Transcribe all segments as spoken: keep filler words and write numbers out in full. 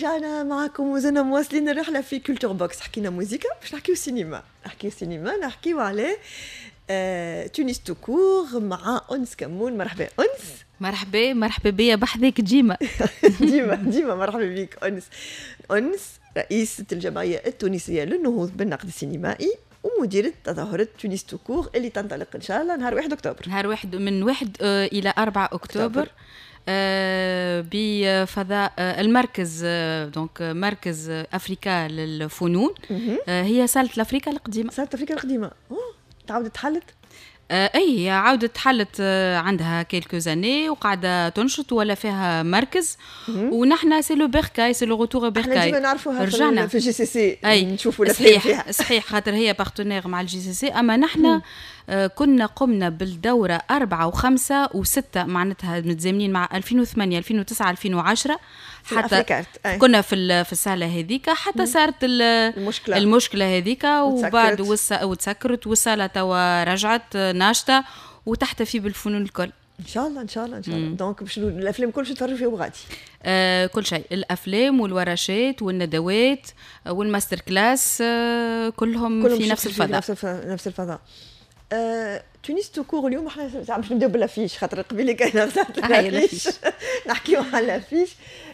رجعنا معكم وزلنا مواصلين الرحلة في Culture Box. حكينا موزيكا، باش نحكيو سينما، نحكيو سينما، نحكيو على آه، Tunis tout court مع أنس كمون. مرحبا أنس. مرحبا، مرحبا بيا بحذاك ديما. ديما ديما، مرحبا بك أنس. أنس رئيسة الجمعية التونسية للنهوض بالنقد السينمائي ومديرة تظاهرة Tunis tout court اللي تنطلق إن شاء الله نهار واحد أكتوبر. نهار واحد، من واحد آه، إلى أربعة أكتوبر آه، بفضاء آه، المركز، donc مركز افريكا للفنون، هي صالة الافريكا القديمه. صالة افريكا القديمه، تعاودت تحلت؟ اي، عاودت تحلت، عندها quelques années وقاعدة تنشط ولا فيها مركز، ونحن c'est le bercail، c'est le retour bercail. احنا ديما نعرفوها. رجعنا في JCC. اي، نشوفوا. صحيح فيها صحيح، خاطر هي partenaire مع ال JCC، اما نحن آه، كنا قمنا بالدورة أربعة وخمسة وستة، معناتها متزامنين مع ألفين وثمانية، ألفين وتسعة، ألفين وعشرة، حتى كنا في في الصالة هذيك حتى صارت المشكلة. المشكلة هذيك وبعد وتسكرت، والصالة توا رجعت ناشطة وتحتفي بالفنون الكل. ان شاء الله، ان شاء الله، ان شاء الله. donc باش الافلام كل شيء تفرجوا فيه غادي؟ آه كل شيء، الافلام والورشات والندوات وال master class، آه كلهم، كلهم في نفس الفضاء. في نفس الفضاء. آه، Tunis tout court، اليوم احنا باش نبداو بال affiche خاطر قبيلة كان l'affiche. نحكيو على l'affiche،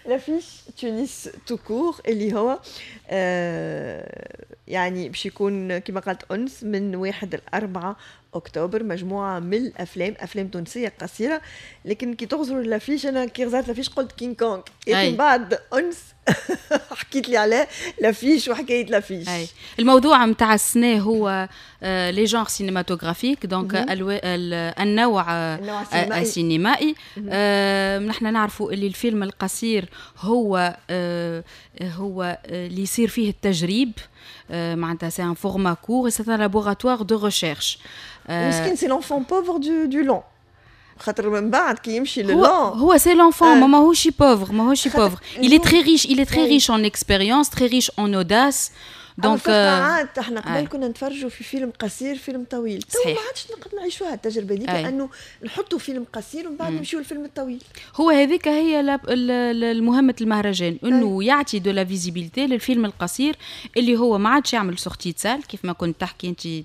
l'affiche Tunis tout court اللي هو آه يعني باش يكون كما قالت انس من واحد لأربعة اكتوبر، مجموعة من الافلام، افلام تونسية قصيره. لكن كي تغزروا l'affiche، انا كي غزرت l'affiche قلت كينغ كونغ، لكن بعد انس حكيت لي على l'affiche وحكاية l'affiche. أي. الموضوع نتاع السنة هو les genres cinématographiques، donc النوع السينمائي. آه نحن نعرفوا اللي الفيلم القصير هو آه هو اللي يصير فيه التجريب، آه معناتها c'est un format court، c'est un laboratoire de recherche. مسكين، c'est l'enfant pauvre du du long، خاطر من بعد كي يمشي لل long هو c'est l'enfant ما ماهوش pauvre، ماهوش pauvre، il est très riche، il est très riche en expérience، très riche en audace. donc عاد احنا قبل كنا نتفرجوا في فيلم قصير، فيلم طويل. تو ما عادش نقدر نعيشوها التجربة دي، لانه نحطوا فيلم قصير ومن بعد نمشيو للفيلم الطويل. هو هذيك هي المهمة المهرجان، انه يعطي de la visibilité للفيلم القصير اللي هو ما عادش يعمل sortie salle كيف ما كنت تحكي انت تاري.